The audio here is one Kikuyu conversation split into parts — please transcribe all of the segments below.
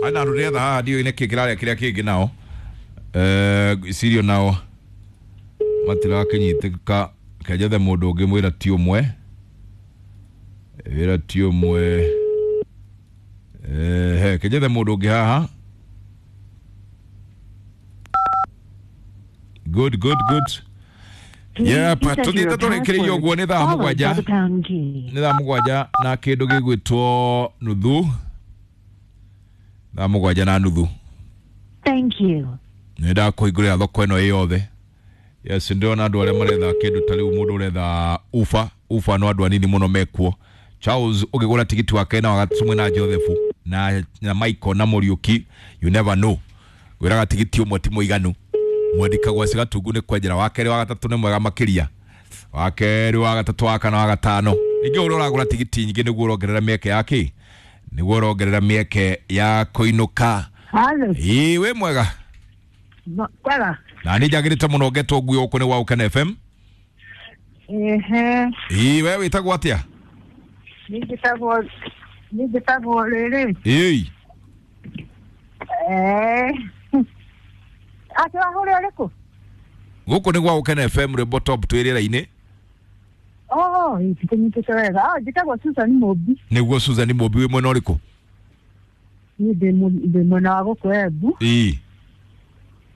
Ana andũ ndĩretha haha ndiũĩ nĩkĩ kĩrarĩa kĩrĩa kĩngĩ nao. Ngwĩciria nao matirakĩnyitĩka. Kenjethe mũndũ ũngĩ mwĩra ti ũmwe, wĩra ti ũmwe. He kenjethe mũndũ ũngĩ haha. Good, good, good. Yep, tuthiĩte tũrĩkĩrĩirie ũguo nĩ thaa 7, nĩ thaa 7 na kĩndũ gĩgwĩtwo nuthu, thaa 7:30. Thank you. Nĩ ndakũhingũrĩra thoko ĩno ĩ yothe. Yes, ndĩrona andũ arĩa maretha kĩndũ ta rĩu mũndũ ũretha ufa ufa, no andũ anini mũno mekuo. Charles ũkĩgũra tigiti wake na wagatatũ mwĩna Joseph na Michael na Mũriũki, you never know. Ngwĩraga tigiti ũmwe ti mũiganu. Mwandĩkagwo gwa Gatungu nĩ kwenjera, wa kerĩ wa gatatũ nĩ mwega makĩria, wa kerĩ wa gatatũ wa kana wa gatano. Ningĩ ũrĩa ũragũra tigiti nyingĩ nĩguo ũrongerera mĩeke ya kĩ, nĩguo ũrongerera mĩeke ya kũinũka. Halo. Ĩĩ, wĩ mwega? Kwega. Na nĩ njagĩrĩte mũno ngetwo nguo gũkũ nĩ gwa Ũkena FM. Ehe. Ĩĩ, we wĩtagwo atĩa? Nĩ njĩtagwo rĩrĩ. Ĩĩ. Atĩ wahũrĩa ũrĩkũ? Gũkũ nĩ gwa Ũkena FM, rwĩmbo top twĩ rĩera-inĩ. Oh, ndikũnyitĩte wega. Ah, njĩtagwo Susan Mũmbi. Nĩguo Susan Mũmbi, wĩ mwena ũrĩkũ? Niĩ ndĩ mwena wa gũkũ Embu. Ĩĩ.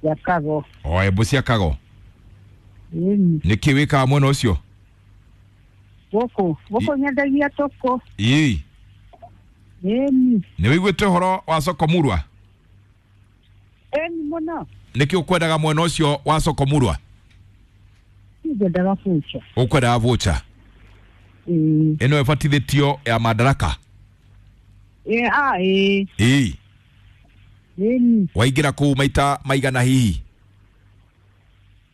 Ya Kago. O Embu cia Kago. Ĩni. Nĩkĩ wĩkaga mwena ũcio? Gũkũ nyendagia tũkũ. Ĩĩ. Ĩni. Nĩ wĩiguĩte ũhoro wa soko murwa? Ĩni mũno. Nĩkĩ ũkwendaga mwena ũcio wa soko murwa? Ngwendaga voucher. Ũkwendaga voucher? Ĩĩ. Ĩno ĩbatithĩtio ya Madaraka? Ĩĩ, ah, ĩĩ. Ĩĩ. Ĩni. Waingĩra kũu maita maigana hihi?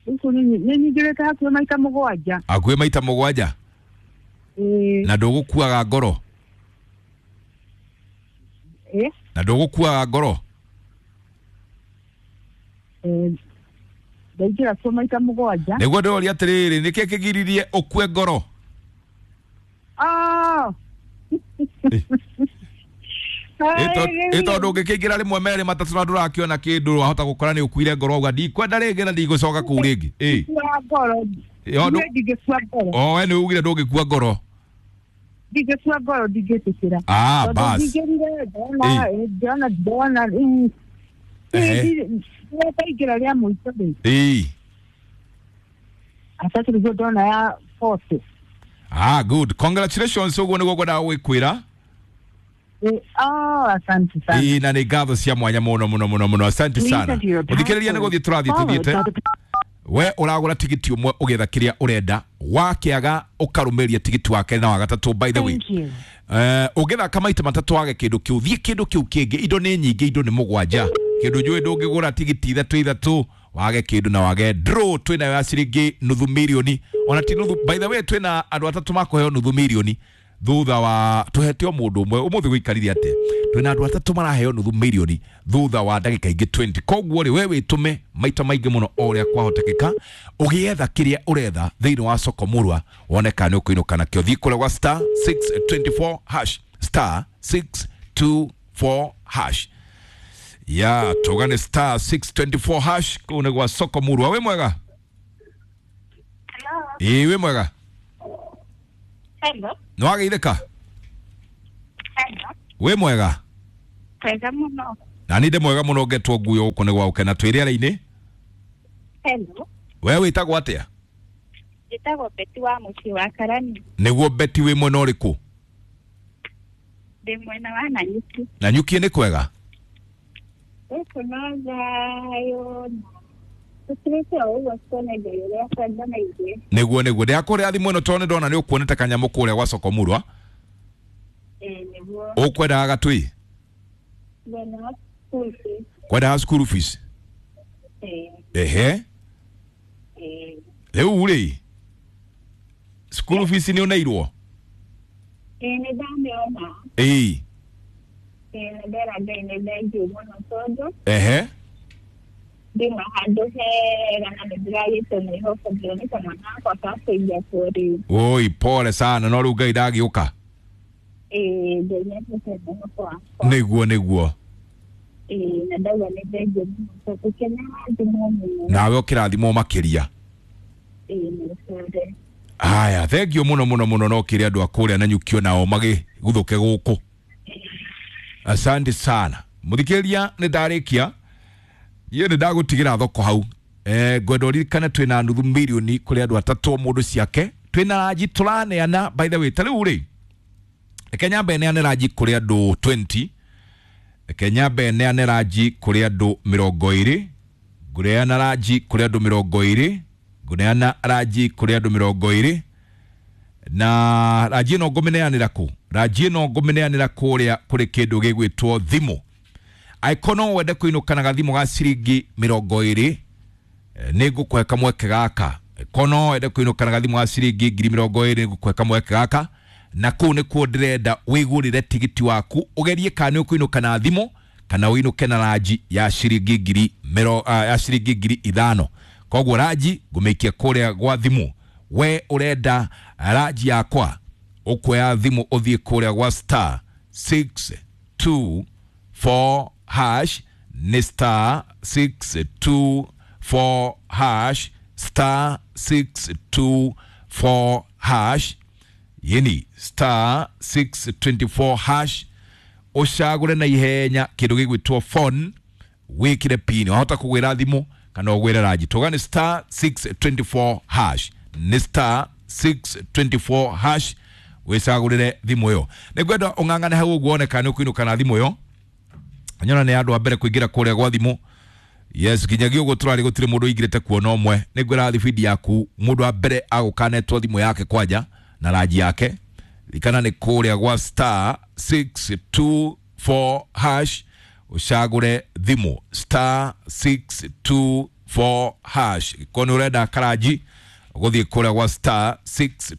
Gũkũ nĩ nyingĩrĩte hakuhĩ maita 7. Hakuhĩ maita 7? Ĩĩ. Na ndũgũkuaga ngoro? Ĩĩ. Na ndũgũkuaga ngoro? Ndaingĩra kuo maita 7. Nĩguo ndĩroria atĩrĩrĩ, nĩkĩ kĩgiririe ũkue ngoro? Ah. Ĩ tondũ ũngĩkĩingĩra rĩmwe merĩ matatũ na ndũrakĩona kĩndũ, wahota gũkora nĩ ũkuire ngoro auga ndikwenda rĩngĩ na ndigũcoka kũu rĩngĩ. Ĩ. Ndingĩkua ngoro. Niĩ ndingĩkua ngoro. O we nĩ ugire ndũngĩkua ngoro. Ndingĩkua ngoro, ndingĩtĩkĩra. Ah, Tondũ bas. ndingĩrire ndona ndona rĩu. Ndaingĩra rĩa mũico rĩ. Ĩĩ. Atatũ nĩguo ndona ya 40. Ah, good. Congratulations, ũguo nĩguo ngwendaga gwĩkwĩra. Oh, asante sana. Ĩĩ, na nĩ ngatho cia mwanya mũno mũno mũno mũno. Asante sana. Ũthikĩrĩria nĩ gũthiĩ tũrathiĩ tũthiĩte. We ũragũra tigiti ũmwe ũgĩetha kĩrĩa ũrenda, wakĩaga ũkarũmĩria tigiti wa kerĩ na wa gatatũ. By the way, ũngĩthaka maita matatũ wage kĩndũ kĩu, thiĩ kĩndũ kĩu kĩngĩ. Indo nĩ nyingĩ, indo nĩ 7. Kĩndũ njũĩ ndũngĩgũra tigiti 3 3 wage kĩndũ na wage draw. Twĩnayo ya ciringi nuthu mirioni, ona ti nuthu. By the way, twĩna andũ atatũ makũheo nuthu mirioni thutha wa tuhete o mũndũ ũmwe ũmũthĩ gũikarire atĩa. Twĩna andũ atatũ maraheo nuthu mirioni thutha wa ndagĩka ingĩ 20. Koguo rĩ, we wĩtũme maita maingĩ mũno o ũrĩa kwahotekeka ũgĩetha kĩrĩa ũretha thĩinĩ wa soko murwa, wone kana nĩ ũkũinũka nakĩo. Thiĩ kũrĩa gwa star 624 hash, star 624 hash. Ya tũgane star 624 hash kũu nĩ gwa soko murwa. Wĩ mwega? Ĩĩ, wĩ mwega? Hello. Nĩ wageithĩka? Hello. Wĩ mwega? Mwega mũno. Na nĩ ndĩ mwega mũno ngetwo nguo gũkũ nĩ gwa Ũkena twĩ rĩera-inĩ. Hello. We wĩtagwo atĩa? Njĩtagwo Betty wa mũciĩ wa Karani. Nĩguo Betty, wĩ mwena ũrĩkũ? Ndĩ mwena wa Nanyuki. Nanyuki nĩ kwega? Gũkũ no thayũ na tũtirĩte o ũguo tuone Ngai ũrĩa kwenda na ithuĩ. Nĩguo nĩguo. Ndĩrakũrĩra thimũ ĩno tondũ nĩndona nĩ ũkuonete kanyamũ kũrĩa gwa soko murwa. Ĩĩ nĩguo. Ũkwendaga gatũi? Ngwendaga school fees. Kwendaga school fees? Ĩĩ. Ehe. Ĩĩ. Rĩu rĩ, school fees nĩ ũneirwo? Ĩĩ nĩ ndamĩona. Ĩĩ. Ĩĩ nĩ ndera Ngai nĩ thengiũ mũno tondũ Ehe. ndĩna handũ hega na nĩ ndĩragĩte mwĩhoko ndĩroneka mwana wakwa kakũiga kuo rĩu. Oi, pole sana, no rĩu Ngai ndagĩũka. Ĩĩ, Ngai nĩatuĩte mwĩhoko wakwa. Nĩguo nĩguo. Ĩĩ, na ndauga nĩ thengiũ mũno tondũ kĩnarathimwo mũno. Nawe ũkĩrathimwo makĩria. Ĩĩ, nĩ ũcũre. Haya, thengio mũno mũno mũno, no kĩrĩ andũ a kũrĩa na nyukio nao magĩguthũke gũkũ. Asante sana mũthikĩrĩria, nĩ ndarĩkia iĩ, nĩ ndagũtigĩra thoko hau. Ngwenda ũririkane twĩna nuthu mirioni kũrĩ andũ atatũ o mũndũ ciake, twĩna ranji tũraneana. By the way, ta rĩu rĩ, reke nyambe neane ranji kũrĩ andũ 20, reke nyambe neane ranji kũrĩ andũ 20, ngũneana ranji kũrĩ andũ 20, ngũneana ranji kũrĩ andũ 20. Na ranji ĩno ngũmĩneanĩra kũ? Ranji ĩno ngũmĩneanĩra kũrĩa kũrĩ kĩndũ gĩgwĩtwo thimũ. Angĩkorwo no wende kũinũka na gathimũ ga ciringi 20, nĩ ngũkũhe kamweke gaka. Angĩkorwo no wende kũinũka na gathimũ ga ciringi 20,000, nĩ ngũkũhe kamweke gaka, na kũu nĩkuo ndĩrenda wĩgũrĩre tigiti waku, ũgerie kana nĩ ũkũinũka na thimũ kana ũinũke na ranji ya ciringi ngiri mĩro, ya ciringi 5,000. Koguo ranji ngũmĩikia kũrĩa gwa thimũ. We ũrenda ranji yakwa, ũkuoya thimũ ũthiĩ kũrĩa gwa star 624 hash, nĩ star 624 hash, star 624 hash, yeni star 624 hash, ũcagũre na ihenya kĩndũ gĩgwĩtwo phone, wĩkĩre pin, wahota kũgwĩra thimũ kana ũgwĩre ranji. Tuga nĩ star 624 hash, nĩ star 624 hash, wĩcagũrĩre thimũ ĩyo. Nĩ ngwenda ũng'ang'ane hau ũguo wone kana nĩ ũkũinũka na thimũ ĩyo. Nyona nĩ andũ a mbere kũingĩra kũrĩa gwa thimũ. Yes, nginyagia ũguo tũrarĩ gũtirĩ mũndũ ũingĩrĩte kuona ũmwe. Nĩ ngwĩra thibindi yaku, mũndũ wa mbere agũkanetwo thimũ yake kwanja na ranji yake. Ririkana nĩ kũrĩa gwa star 624 hash, ũcagũre thimũ, star 624 hash. Korwo nĩ ũrenda karanji, ũgũthiĩ kũrĩa gwa star 6